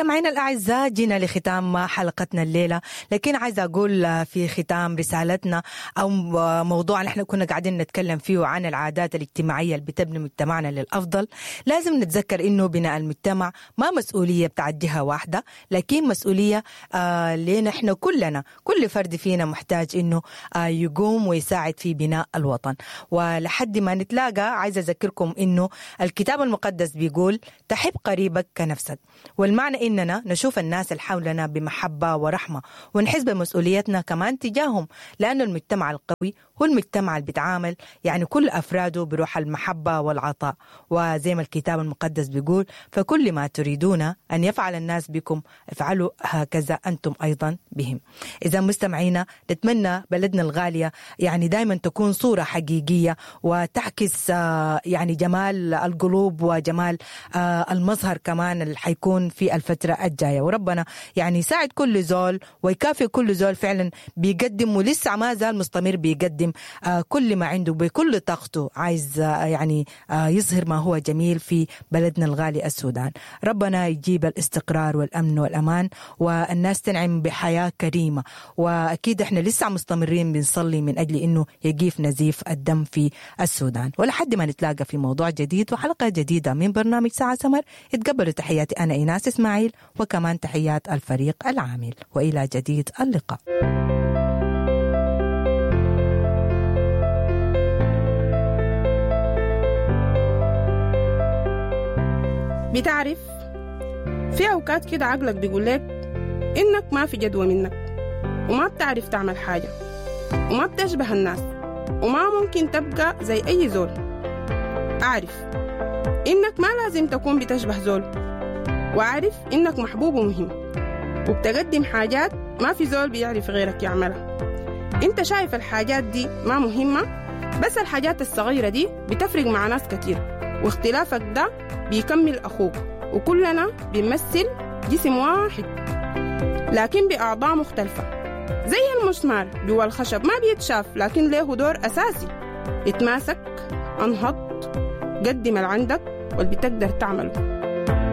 مستمعينا الأعزاء، جينا لختام حلقتنا الليلة، لكن عايزة أقول في ختام رسالتنا أو موضوع نحن كنا قاعدين نتكلم فيه عن العادات الاجتماعية اللي بتبني مجتمعنا للأفضل. لازم نتذكر إنه بناء المجتمع ما مسؤولية بتاعت جهة واحدة، لكن مسؤولية لنا إحنا كلنا. كل فرد فينا محتاج إنه يقوم ويساعد في بناء الوطن. ولحد ما نتلاقى عايزة أذكركم إنه الكتاب المقدس بيقول تحب قريبك كنفسك، والمعنى إننا نشوف الناس اللي حولنا بمحبة ورحمة ونحس بمسؤوليتنا كمان تجاههم، لأنه المجتمع القوي هو المجتمع اللي بيتعامل يعني كل أفراده بروح المحبة والعطاء. وزي ما الكتاب المقدس بيقول فكل ما تريدون أن يفعل الناس بكم افعلوا هكذا أنتم أيضا بهم. إذا مستمعينا، نتمنى بلدنا الغالية يعني دايما تكون صورة حقيقية وتعكس يعني جمال القلوب وجمال المظهر كمان اللي حيكون في الفترة الجاية. وربنا يعني يساعد كل زول ويكافئ كل زول فعلا بيقدم ولسه ما زال مستمر بيقدم كل ما عنده بكل طاقته، عايز يعني يظهر ما هو جميل في بلدنا الغالي السودان. ربنا يجيب الاستقرار والأمن والأمان والناس تنعم بحياة كريمة. وأكيد احنا لسه مستمرين بنصلي من أجل إنه يقيف نزيف الدم في السودان. ولحد ما نتلاقى في موضوع جديد وحلقة جديدة من برنامج ساعة سمر، اتقبلوا تحياتي أنا إيناس إسماعيل، وكمان تحيات الفريق العامل، وإلى جديد اللقاء. بتعرف في أوقات كده عقلك بيقول لك إنك ما في جدوى منك، وما بتعرف تعمل حاجة، وما بتشبه الناس، وما ممكن تبقى زي أي زول. أعرف إنك ما لازم تكون بتشبه زول، وأعرف إنك محبوب ومهم، وبتقدم حاجات ما في زول بيعرف غيرك يعملها. إنت شايف الحاجات دي ما مهمة، بس الحاجات الصغيرة دي بتفرق مع ناس كتير، واختلافك ده بيكمل أخوك، وكلنا بنمثل جسم واحد لكن بأعضاء مختلفة. زي المسمار جوا الخشب ما بيتشاف لكن له دور أساسي. اتماسك، انهض، قدم اللي عندك واللي بتقدر تعمله.